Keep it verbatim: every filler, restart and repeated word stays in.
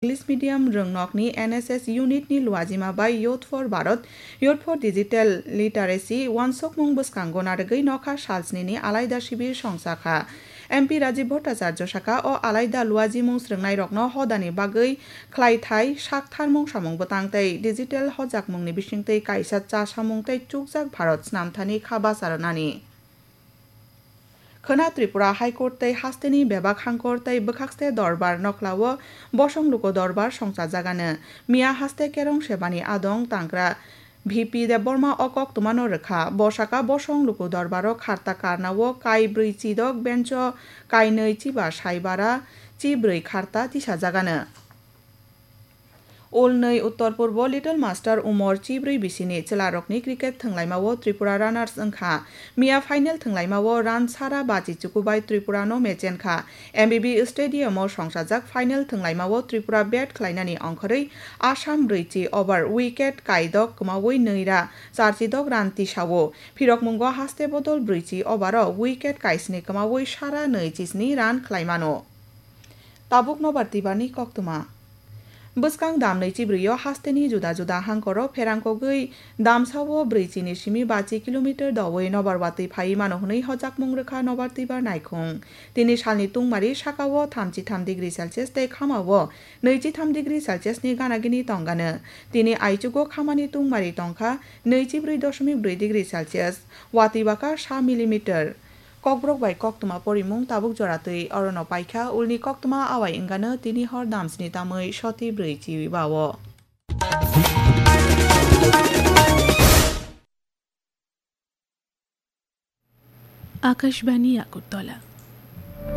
English medium rwngnokni N S S unit ni luajima bai Youth for Bharat, Youth for Digital Literacy wansukmung bwskango narwgwi nokha salsnini alaida sibir songsa kha. M P Rajiv Bhattacharya saka o alaida luajimung srwngnairokno hodani bagwi khlaithai saktharmung samung bwtang tei digital hojakmungni bisingtwi kaisa chasamung tei chukjak Bharat snamthani kha bacha rwnani. Khwna Tripura High Court tei hasteni bebak hangkor tei bwkhakste dorbar nokhlao bosong luku dorbar songchajagano. Miya haste kerong sebani adong tangkra V P Debbarma o koktwmano rwkha. Bo saka bosong luku dorbaro kharta karnao kai brwi chidok bencho kai nwi chiba saibara chi brwi kharta tisajagano. Ulnwi Uttor Purbo Little Master Umor chibrwi bisini chwlarokni cricket thwnglaimao Tripura runners wngkha. Miya final thwnglaimao run sara bachi chukubai Tripurano mechenkha. M B B Stadium o songsajak final thwnglaimao Tripura bat khlainani ongkhorwi Assam brwichi over wicket kaidok kwmawi nwira charchidok run tisao. Phirokmungo haste bodol brwichi over o wicket kaisni kwmawi sara nwi chisni run khlaimano. Tabuk nobar twibarni koktwma. Bwskang dam nwi chibrwi o hasteni juda juda hangkoro pherangkogwi damsao brwichini simi bachi kilometer dowi nobar watwi phaiwi mano hwnwi hojakmung rwkha nobar twibar naikhung. Tini salni tungmari sakao thamchi tham degree Celsius tei khamao nwichi tham degree Celsius ni gana gini tongano. Tini aichugo khamani tungmari tongkha nwichi brwi doshomik brwi degree Celsius, watwi baka sa millimeter. Kokborok bai koktwma porimung tabuk jora twi orono paikha, ulni koktwma awai wngano tini hor damsni tamwi soti brwi chiwi bao. Akashbani Agartala.